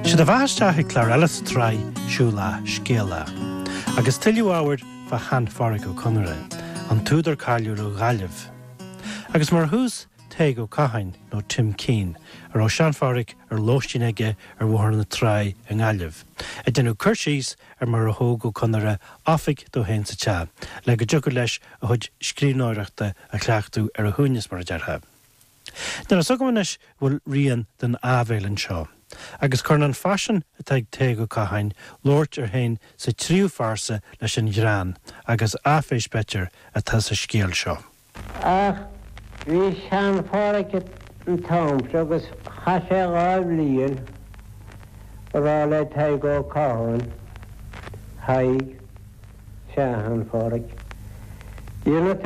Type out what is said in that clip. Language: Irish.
Sé do bheatha isteach ag clár eile sa tsraith Siúil Lá, Scéal Lá. Agus tuilleadh ábhair fá shean-Phádhraic Ó Conaire, an t-údar cáiliúil ó Ghaillimh. Agus mar thús, Tadhg Ó Catháin, nó Tim Keane, a raibh sean-Phádhraic ar lóistín aige ar Bhóthar na Trá i nGaillimh, ag déanamh cur síos ar mar a thóg Ó Conaire oifig dó féin sa teach, le go dtiocfadh leis a chuid scríbhneoireachta a chleachtadh ar a shuaimhneas, mar a déarfá. Níl a fhios agam anois an bhfuil rian den áibhéil anseo, agus cuireann an faisean atá ag Tadhg Ó Catháin labhairt air féin sa tríú phearsa leis an ghreann agus áiféis, b'fhéidir, atá sa scéal seo. Ach bhí sean-Phádhraic an t-am seo agus chaith sé 2 bhliain a rá le Tadhg Ó Catháin, Thaidhg, sea, a shean-Phádhraic, déanfaidh tú.